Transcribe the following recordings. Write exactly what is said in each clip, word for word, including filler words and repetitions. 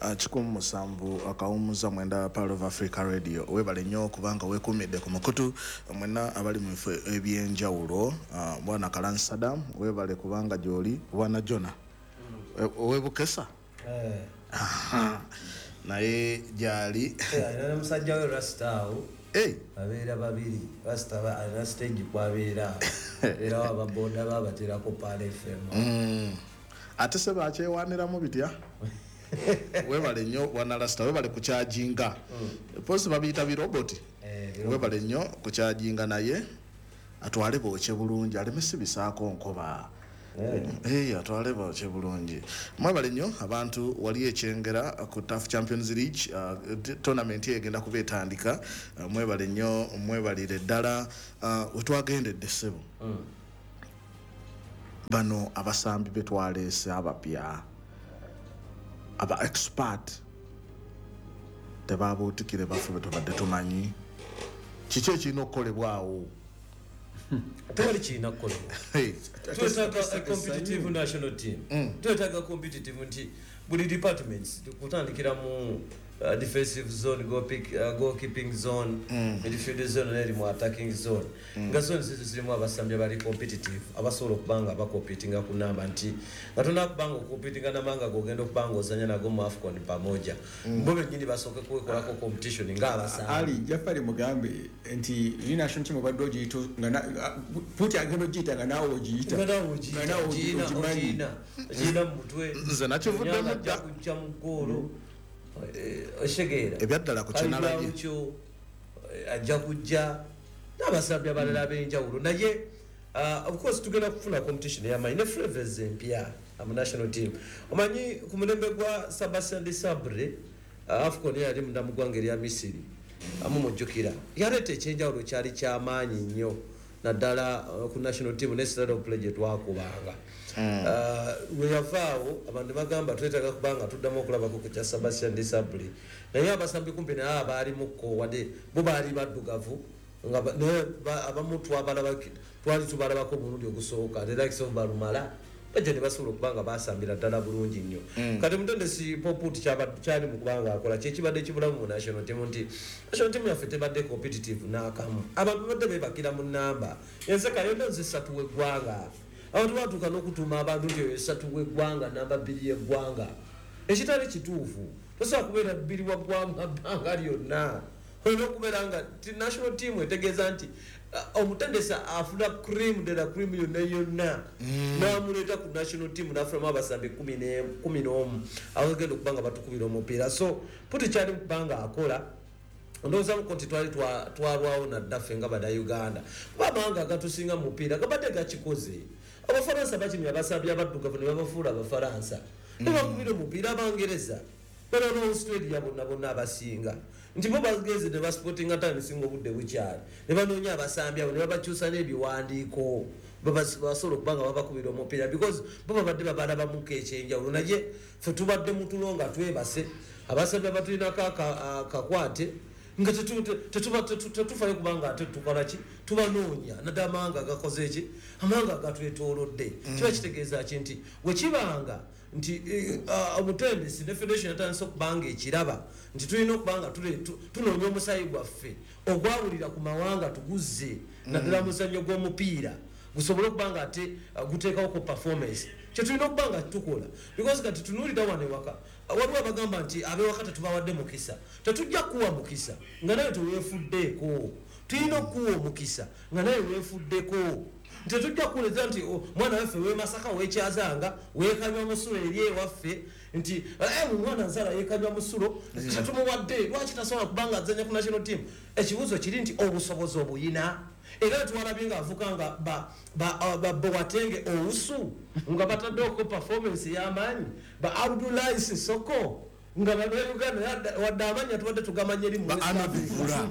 Ah, kikumi musanvu akawumuza mwenda, Pearl of Africa Radio. Webale nnyo kubanga weekuumidde ku mukutu. Mwenna abali mu bifo ebyenjawulo, ah, bwana Kalan Sadam, webale kubanga gyoli. Bwana Jona owebukesa naye gyali. Alina ne musajja we Rasita awo. Hey, babeera babiri. Rasita ba- alina stage kwabeera, era ababoda babaterako Pearl F M. Mm. Ate se bakyewaniramu bitya? Webale nnyo bwana Rasita, webale kukyajinga posi, babiyita biroboti. Eh, biroboti. Webale nnyo kukyajinga, naye atwale bookye bulungi, aleme sibisaako nkoba. Eh, atwale bookye bulungi. Mwebale nnyo abantu wali ekyengera ku TAF Champions League uh, tournament eyo egenda kuba etandika. uh, mwebale nnyo, mwebalire ddala. uh, wetwagendedde ssebo, bano abasambi betwaleese abapya, aba expert, tebabuutikire bafe betubadde tumanyi. Kiki ekirina okukolebwawo? Tewali kirina kukolebwa. Hey, Twetaaga a competitive national team. Twetaaga competitive nti buli departments, kutandikira mu uh, defensive zone, goalpick, uh, goalkeeping zone, midfield zone, neri mu attacking zone, nga zone zizo zirimu abasambi abali competitive, abasobola okuba nga bacompetinga ku namba, nti nga tolina kuba nga ocompetinga namanga gogenda okuba nga ozanya nago mu AFCON pamoja, bo bennyini basooke kwekolako competition ng'abasambi. Ali Jafari, mugambe nti eri national team obadde ogiyita nga na- puti agenda ogiyita nga naawe ogiyita. Nga naawe ogiyita, Nga naawe ogiyina, ogimanyi. ogiyina ogiyina mu mutwe. Nze nakivuddemu Onyanga dda. ajja kujja mu ggoolo. Eh, okitegeera? Ebyaddala ku kyenalabye. Kyo ajja kujja n'abasambi abalala ab'enjawulo, naye uh, of course tugenda kufuna competition ey'amaanyi ne flavors empya mu national team. Omanyi ku mulembe gwa Sebastien Desabre, uh, AFCON yali munda mu ggwanga erya Misiri, amumujjukira, yaleeta ekyenjawulo, kyali kyamaanyi nnyo, naddala uh, ku national team ne style of play gye twakubanga. Uh, lwe yavaawo, abantu bagamba twetaaga kubanga tuddamu okulabako ku kya Sebastien Desabre, naye abasambi kumpi naye abaalimuko, wadde bo baali baddugavu, nga ba- naye ba- abamu twabalaba, twali tubalabako omulundi ogusooka, the likes of Barumala, bajja ne basobola okuba nga basambira ddala bulungi nnyo. Kati mutendesi Paul Put kyali mu kubanga akola kyekibadde kibulamu mu national team, nti national team yaffe tebadde competitive n'akamu. Abantu babadde bebakira mu namba enseka yonna nze esatu w'eggwanga. Abantu batuuka n'okutuuma abantu nti oyo esatu w'eggwanga, namba bbiri y'eggwanga, ekitali kituufu. Tosobola kubeera bbiri wa ggwanga bbanga lyonna. Olina okubeera nga ti national team etegeeza nti uh, omutendesi afuna cream de la cream yonna yonna n'amuleeta ku national team, n'afunamu abasambi kumi ne- kumi n'omu abagenda okuba nga batukubira omupiira. So Puti kyali kuba nga akola, ndowoozamuko nti twali twa- twalwawo naddaffe nga Bannayuganda, kuba amawanga agatusinga mu mupiira gabadde gakikoze. Abafaransa bakimya abasambi abaddugavu ne babafuula Abafaransa ne bakubira omupiira. Abangereza bano ba Australia bonna bonna abasinga nti bo bagenze ne baspottinga time singa obudde bukyali, ne banoonya abasambi abo ne babakyusa n'ebiwandiiko, babas- basobola okuba nga babakubira omupiira, because bo babadde babalabamuko ekyenjawulo. Naye ffe tubadde mutulo nga twebase, abasambi abatulinako aka- akakwate nga tetu- tetuba- tetu- tetufayo kubanga ate tukola ki? Tubanoonya naddala amawanga agakoze eki, amawanga agatwetoolodde. Kiba kitegeeza ki? Nti wekibanga nti eh, ah, omutendesi ne federation yatandise okubanga ekiraba nti tulina okubanga tule- tu- tunoonya omusayi gwaffe ogwawulira ku mawanga, tuguzze naddala muzannyo gw'omupiira, gusobole okuba nga ate uh, guteekawo ku performance kyetulina okuba nga tukola. Because kati tunuulira wano ewaka, waliwo abagamba nti abewaka tetubawadde mukisa. Tetujja kuwa mukisa nga naye teweefuddeeko. Tulina okuwa omukisa nga naye weefuddeko. Tetujja kuwuliriza nti, "Oh, mwana waffe wemasaka wekyazanga wekanywa musulo eri ewaffe," nti, "Eh, omwana nzala yekanywa musulo, tetumuwadde, lwaki tasobola kubanga azanya ku national team?" Ekibuuzo kiri nti obusobozi obuyina? Era twalabye nga avuka nga ba- ba- ah, ba Boateng, Owusu, nga bataddeko performance y'amaanyi, ba Abdoulaye Sissoko, nga Bannayuganda, wadde amanya tubadde tugamanya eri mu Ba West Anna Africa. Bivula.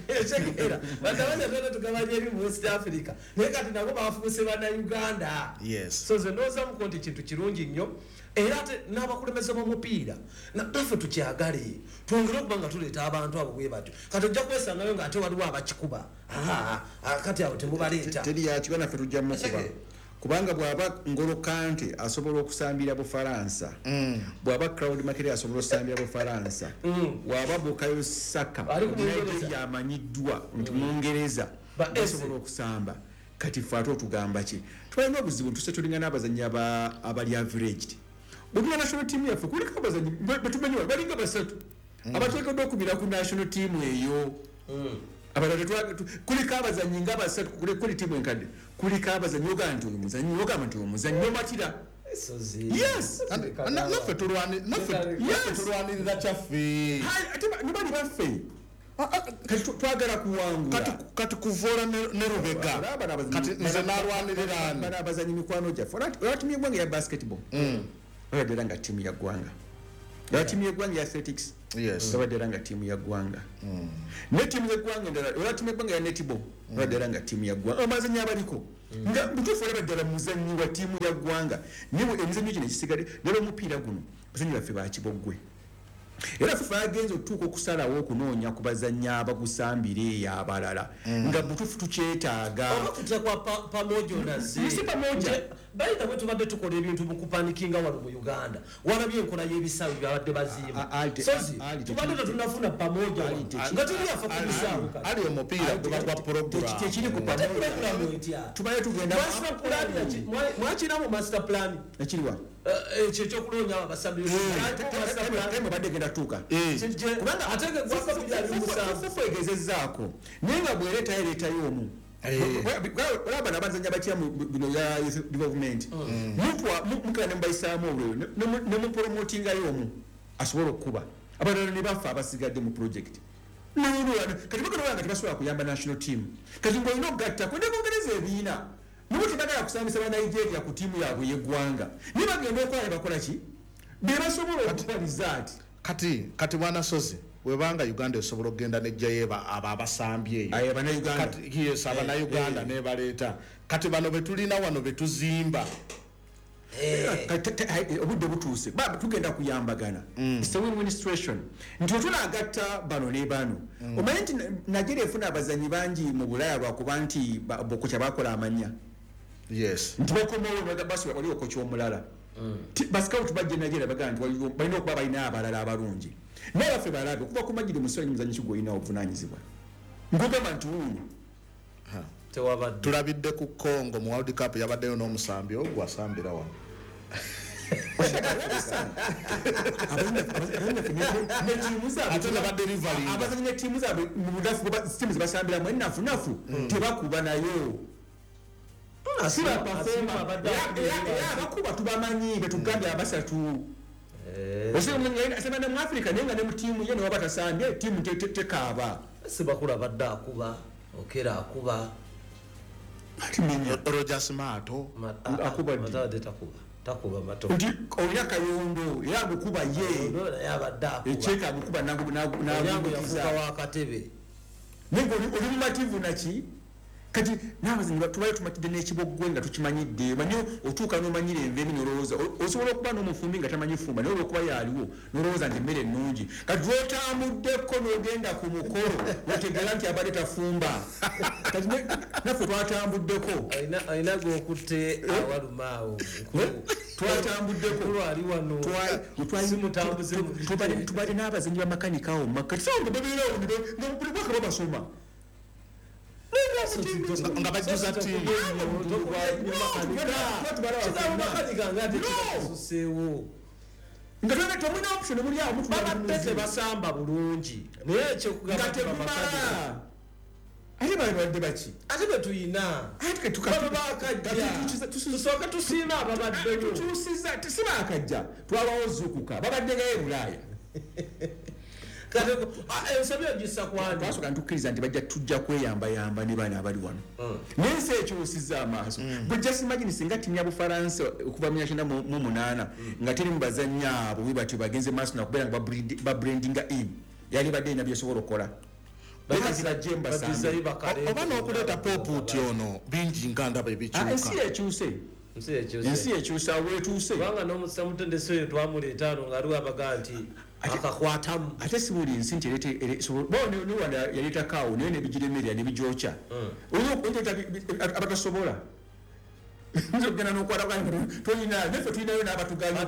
Ekitegeera, wadde amanya tubadde tugamanya eri mu West Africa, naye kati nabo bafuuse Bannayuganda. Yes. So nze ndowoozamuko nti kintu kirungi nnyo, era ate n'abakulembeze b'omupiira na- naffe tukyagale, twongere okuba nga tuleeta abantu abo bwe batyo. Kati ojja kwesangayo ng'ate waliwo abakikuba. Aa, kati abo temubaleeta. Teri yakiba, naffe tujja mukuba. Ekege. Kubanga bw'aba Ngolo Kante asobola okusambira Bufalansa, bw'aba Claude Makelele asobola okusambira Bufalansa, bw'aba Bukayo Saka Ali ku Bungereza. Nigeria amanyiddwa nti Mungereza Ba asobola okusamba. Kati ffe ate otugamba ki? Twalina obuzibu, ntuse tulinga n'abazannyi aba- abali averaged. Bwetuna national team yaffe kuliko abazannyi be- betumanyi wano balinga basatu abateekeddwa okubira ku national team eyo. Abalala tetwa- tu- kuliko abazannyi nga basatu kuli kuli tiimu enkadde, kuliko abazannyi ogamba nti oyo muzannyi, ogamba nti oyo muzannyi omatira. Sozi. Yes. Na- naffe tulwani- naffe- naffe tulwanirira kyaffe. Hai, ate ba- ne bali baffe. Kati tu- twagala kuwangula. Kati kati kuvola ne ne Rubega. Olaba bano abazannyi- Kati nze bano- nalwanirira ani? Bano abazannyi mikwano gyaffe. Olaba olaba ttiimu y'eggwanga eya basketball olaba era nga ttiimu ya ggwanga, olaba ttiimu y'eggwanga ya athletics Yes. olaba era nga ttiimu ya ggwanga, ne ttiimu y'eggwanga endala, olaba ttiimu y'eggwanga ya netball olaba era nga ttiimu ya ggwanga. Abazannyi abaliko nga butuufu olaba ddala muzannyi wa ttiimu ya ggwanga, naye bwe- emizannyo gino egisigadde nera omupiira guno abazannyi baffe bakiboggwe. Era FIFA yagenza okutuuka okusalawo okunoonya ku bazannyi abagusambira eyo abalala nga butuufu tukyetaaga. Oba kutya kwa pa- pamoja onaze. Si pamoja. Bayita bwe tubadde tukola ebintu mu kupanikinga wano mu Uganda, walabye enkola y'ebisaawe byabadde bazimba. A- a- Sozi ali- tubadde tetunafuna pamoja wano. Ali- Nga tuli afa ku bisaawe kati. Ali omupiira guba gwa program. Tekiri ku Ate pamoja. pulogulaamu etya? Tubaye tugenda Master plan yaki- mwa- mwakira mu master plan. Ekiriwa? Eh, ekyo ekyokunoonya abasambi. Master plan. Time obadde egenda tuuka. Kijje- ate nga gwaka bibiri abiri mu musanvu. Fufu egezezzaako naye nga bwereetayo ereetayo omu. Olaba bano abazannya batya mu bino ya youth development, Mutwa- mu- mukira ne mubayisaamu olweyo ne mupromotingayo omu asobola okukuba abalala ne bafa abasigadde mu project. Kati bagenda nga tebasobola kuyamba national team. Kati ng'olina okugattako ne Bungereza ebiina nibo tebagala kusambisa ba Nigeria ku ttiimu yaabwe y'eggwanga, naye bagenda okukola ne bakola ki be basobola okuba rizaati. Kati kati bwana Sozi, webanga Uganda esobola okugenda nejjayo eba- abo abasambi eyo. Aye, Abannayuganda. Kati yes, abannayuganda nebaleeta. Kati bano betulina wano betuzimba. Kati te- te- ai, obudde butuuse. Ba- tugenda kuyambagana. It's a win-win situation nti wetunagatta bano ne bano. Omanyi nti Na- nigeria efuna abazanyi bangi mu Bulaaya lwakuba nti ba- bokocha bakola amanya Yes. nti bakomawo basi wali okocha omulala. Ti- bascout bajja Nigeria bagamba nti waliwo- balina okuba balina abalala abalungi, naye baffe balabe okuva ku Majidi Muswanyi muzanyi ki gwolina obuvunanyizibwa ngogamba nti wuuno. Tewabadde. Tulabidde ku Congo mu World Cup yabaddeyo n'omusambi ogwo asambira wano. Netiimu zaabwe Ate ne badelivaringa. Abazanyi netiimu zaabwe mu bunafu bwe ba- tiimu zebasambiramu enafunafu tebakuba nayo si Asiima baperforma. abadde Era abakuba tubamanyi betugambye abasatu. Osanga mu Africa naye nga ne mu tiimu ye newaba tasambye tiimu te- te- tekaaba. Sibakula abadde akuba, Okera akuba. Ati menya. Rogers Mato. Ma- Akuba ddi? Mato abadde takuba, takuba Mato. Nti olina Kayondo era agukuba ye. Ono naye abadde akuba. Ekyeka agukuba Onyango nagukiza. yafuuka wa katebe. Naye nga oli oli mumativu naki. Kati n'abazannyi ba- tubayo tumatidde n'ekiboggwe nga tukimanyidde. Manyi otuuka n'omanyira enva emi n'olowooza o- osobola okuba n'omufumbi nga tamanyi fumba, naye olwokuba yaaliwo n'olowooza nti emmere ennungi. Kati lw'otambuddeko n'ogenda ku mukolo otegeera nti abadde tafumba. Kati ne- naffe twatambuddeko. Alina- alina gwokutte awaluma awo Nkulu. Twatambuddeko. Nkulu ali wano. Twa- twa- Si mutambuze mu tubadde tubadde n'abazannyi bamakanika awo mu makkati so nga babeerawo ne ba- nga buli mwaka babasoma. Nga bajjuza ttiimu. Makanika nga ate No. kisuseewo. Nga twena temulina option muli awo mutula Babadde bunuzi. tebasamba bulungi naye ekyokugamba Nga nti bamakanika. temumala ate bali badde baki? Ate betuyina Ate kati tuka- bano bakajja. kati tukyusa- tusu- Tusooke tusiime ababaddeyo. Tukyusiza si bakajja, twabawo zukuka babadde ngayo e Bulaaya. Kati ah, ensobi ogissa kwani? Twasooka ntukkiriza nti bajja tujja kweyambayamba ne bano abali wano, naye ensi ekyusiza amaaso. Bwe just imagine singa ttiimu ya Bufalansa okuva mu myaka mu mu munaana nga teri mu bazannyi abo bwe batyo bagenze maaso nakubeera nga babrand- babrandinga in, yali badde erina byesobola okukola. Kati bajje mbasambe. Bagizayo bakale. Oba n'okuleeta Popuuti ono bingi nga ndaba Ah, ensi ebikyuka. ekyuse. Ensi ekyuse. Ensi ekyuse awo wetuuse. Kubanga n'omusamutendesi oyo twamuleeta ano nga aliwo abagaa nti akakwatamu. Ate si buli nsi nti ereeta ere- so- bo ne ne Rwanda yaleeta kaawo naye nebigiremerera nebigyokya. Oyinza okuleeta bi- bi- abatasobola. Nzogena n'okwata toyina naffe tulinayo n'abatuganya.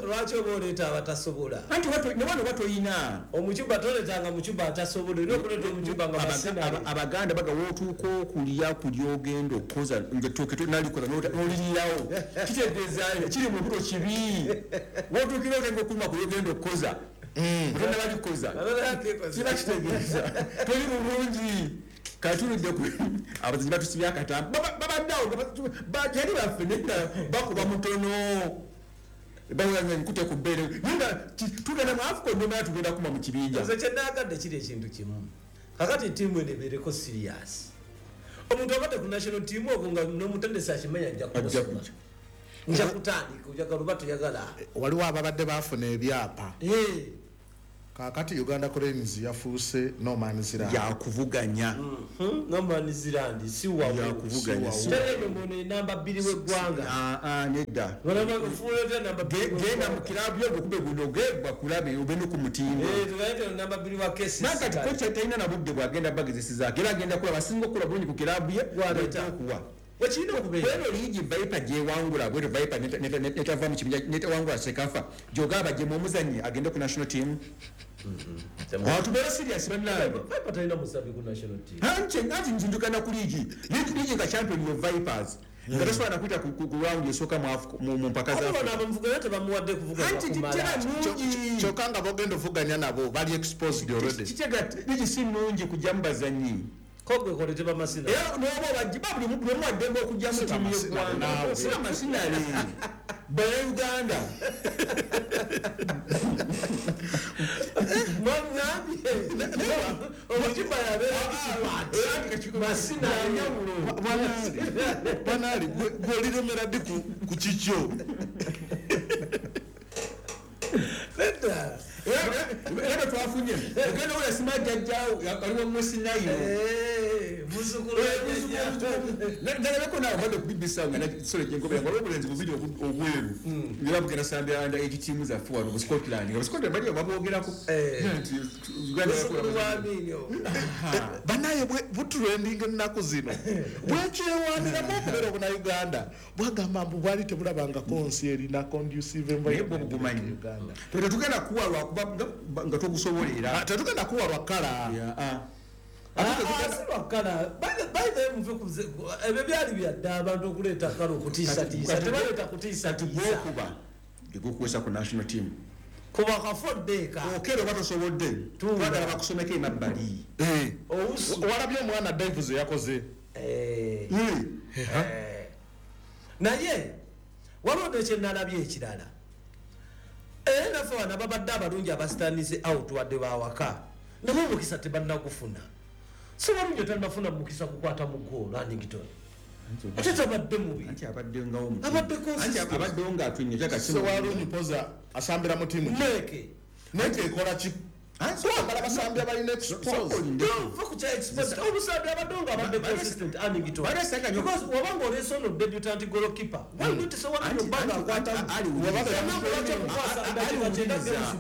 Lwaki oba oleeta abatasobola? Anti ne wano batoyina. Omucuba toleetanga mucuba atasobola, olina okuleeta omucuba nga masinale. Abaganda baga wootuuka okulya kulya ogenda okukoza ng'ettooke nalikoza n'olirirawo. Kitegeeza kiri mu lubuto kibi. Wootuukira otandika okuluma kulya ogenda okukoza. Otenda balikoza. Kiba kitegeeza toli bulungi. Katulidde ku abazannyi batusibye akatambi babadde awo yali baffe naye nga bakuba mutono bawulira nkute ku bbeere naye nga tugenda mu AFCON nomala tugenda kuma mu kibinja. Nze kye naagadde kiri ekintu kimu, kakati ttiimu eno ebeereko serious. Omuntu abadde ku national team ogwo nga n'omutendesi akimanya ajja kumusoma, nja kutandika oyagala oba toyagala. Waliwo ababadde baafuna ebyapa. Kakati Uganda Cranes yafuuse no man's land. Yakuvuganya. No man's land si wawo. Yakuvuganya. Terebe muno enamba bbiri w'eggwanga. Ah ah nedda. Wala namba bbiri. Genda mu kilabu yo gukube guno ge bakulabe obe no ku mutindo. Eh tugaite namba bbiri wa K C C. Nakati kocha talina na budde bwagenda bagezesizaako era agenda kulaba asinga okukola bulungi ku kilabu ye gwaleeta okuwa. Wekirina okubeera. Bweno liigi Viper gyewangula bwero Viper netava mu kibinja netawangula Sekafa gyogaba gye omuzannyi agende ku national team. Tubeere serious bannange. Viper talina musambi ku national team. Anti anti nzindukana ku liigi. Liigi nga champion yo Vipers. Nga tasobola na kuyita ku round esooka mu mpaka za Africa. Abo abamuvuganya tebamuwadde kuvuga Anti kitera nnungi. Kyokka nga bogenda ovuganya nabo bali exposed already. Kitega liigi si nnungi kujja mu bazannyi. Kogwe kolete bamasina. Era n'oba bajja buli omu addembe okujja mu ttiimu y'eggwanga. Si bamasinale. Bannayuganda. Mwangambye. Omucuba yabeera expert. Masinale. Bwanaali gwe oliremera ddi ku kikyo? Nedda. Era twafunye ogenda ola sima jjajjaawo aliwo musinayo muzukulu ndalabeko naawe obadde ku B B C nga nakisolo gyenkobera nga olw'obulenzi bubiri obweru era bugenda sambya under age team zaffe wano mu Scotland nga Scotland bali baboogerako nti Uganda banaye butrendinga ennaku zino bwekyewaniramu okubeera obuna bwagamba mbu bwali tebulabangako nsi erina conducive environment bugumanyi Uganda tetugenda kuwa lwakuba nga togusobolera tetugenda kuwa lwakala ebyo byali byadda abantu okuleeta kala okutiisatiisa tebaleeta kutiisatiisa gwokuba gegukuwesa ku national team kuba kafoddeeka okero oba tosobodde twagala bakusomeko emabbali walabye omwana Davis yakoze naye waliwo nekyenalabye ekirala era naffe bano ababadde abalungi abasitanize out wadde bawaka nabo omukisa tebannagufuna. Si walungi otannafuna mukisa kukwata mu goolo Annington. Ate tabadde mubi. Anti abaddengawo abadde consistent. Abaddewo ng'atunye kyaka Sewalungi poza asambira mu ttiimu. Neke. Neke ekola ki? Kwagala basambi abalina expose. Don't fuck with expose. Omusambi abadde nga abadde consistent Annington. Because wabanga oleese ono debutant goalkeeper. Why not Sewalungi obanga akwata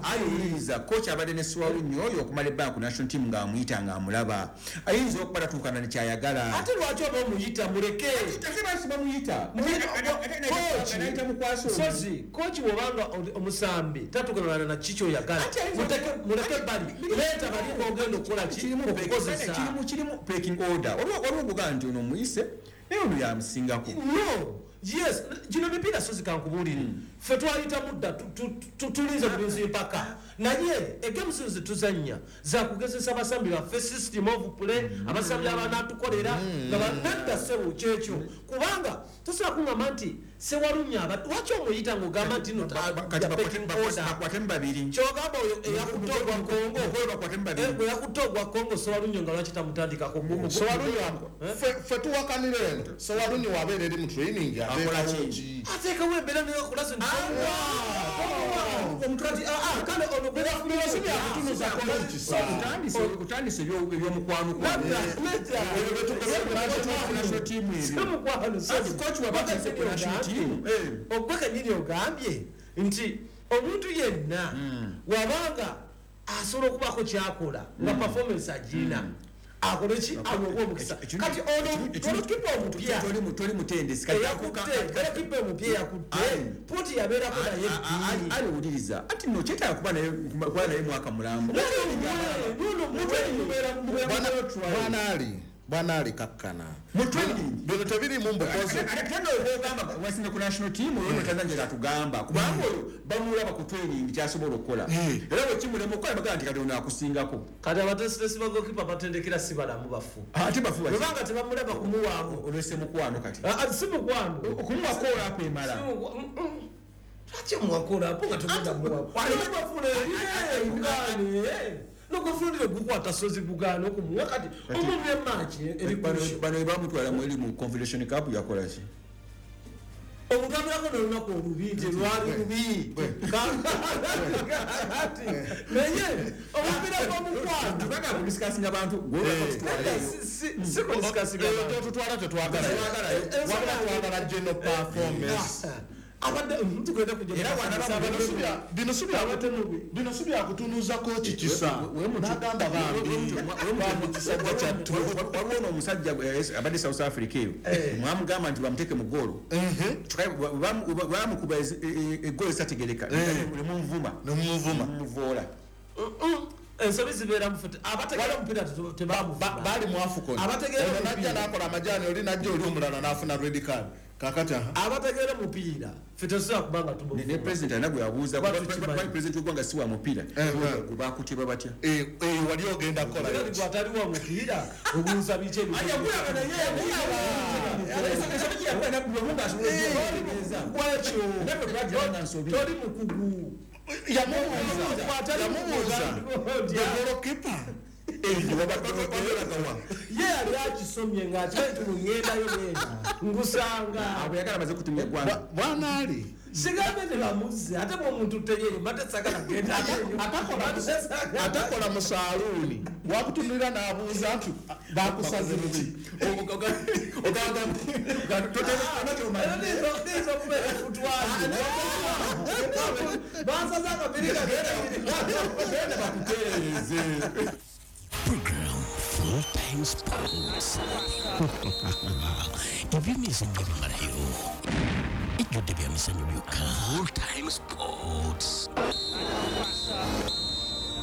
aliwuliriza coach abadde ne Sewalungi oyo okumala ebbanga ku national team ng'amuyita ng'amulaba ayinza okuba tatuukana ne kyayagala. Ate lwaki oba omuyita muleke? Ate lwaki bamuyita? Sozi coach wobanga omusambi tatuukana na kiki oyagala muleke bali leeta bali ogenda okukola ki okukozesa kirimu kirimu pecking order. Waliwo ogugamba nti ono omuyise naye ono yamusingako. No. Yes, gino mipiira sozi kankubuulire. Ffe twayita mudda tulinze bulinzi mpaka. Naye egames ze tuzannya za kugezesa abasambi baffe system of play abasambi abanaatukolera nga banadda ssebo kyekyo kubanga tosobola kuŋŋamba nti Sewalungi abadde lwaki omuyita ng'ogamba nti no bakwatemu babiri kyogamba oyo eyakutte ogwa Congo eyakutte ogwa Congo Sewalungi nga lwaki tamutandikako Sewalungi ffe tuwakanira eno Sewalungi wabeera eri mu training ateekawo ki ateekawo embeera neyakola otandise ebyomukwano ogwe kenyini ogambye nti omuntu yenna wabanga asobola okubaako kyakola nga performance agirina Akole ki aweebwe omukisa. Kati ono golokipa omupya toli mutendesi kati golokipa omupya yakutte Puti yabeerako naye bbiri ali wuliriza ati no kyetaaga kuba naye kuba naye mwaka mulambo. Bwana Ali Bwana Ali kakkana bino tebirimu mbukozi ate ogamba wasinga ku national team oyo Tanzania atugamba kubanga oyo bamulaba ku training kyasobola okukola era bwe kimulema okukola bagamba nti kati ono akusingako. Kati abatendesi ba goalkeeper batendekera si balamu bafu ate bafu bwebanga tebamulaba kumuwaamu olwese mukwano kati si mukwano okumuwa kola akwemala lwaki omuwa kola apo nga togenda muwa nokufundira gukwata sozi bugaana okumuwa kati omuntu emaaki eri bano bamutwala mu eri mu Confederation Cup yakola ki omuntu abeerako n'olunaku olubi nti lwali lubi naye omupiira gw'omukwano tubanga kudiscussinga abantu tutwala tetwagala wabula twagala general performance abadde tugenda era bino si byakutunuuzako kikisa n'agamba bambi kisajja kyattu. Waliwo n'omusajja abadde South Africa eyo mwamugamba nti bamuteeke mu ggoolo bamukuba eggoolo ezitategereka nemumuvuma nemumuvuma nemumuvoola ensobi zibeera mu fute abategeera omupiira tebamuvuma baali mu AFCON abategeera najja n'akola amajaani oli najja oli omulala n'afuna red card kakati abategeera mupiira ffe tetusobola kubanga tumuvuma ne president alina gwe yabuuza kuba president w'eggwanga si wa mupiira gwe bakutibwa batya wali ogenda kukola atali wa mupiira obuuza biki ebyo toli mukugu yamubuuza yamubuuza the goalkeeper ye yali akisomye ng'akimanyi nti ŋŋendayo ngenda ngusanga abo yagala amaze kutumya eggwanga Bwana Ali sigambe tebamuzze ate bw'omuntu teyeeyo mbadde sagala genda atakola mu saaluuni wakutunulira n'abuuza nti bakusaze ki niyinza okubeera futwali bansaze akabiri genda bakutereeze. Program Full Time Sports. Ebyemizannyo bimalayo ejjudde bya mizannyo byokka. Full Time Sports.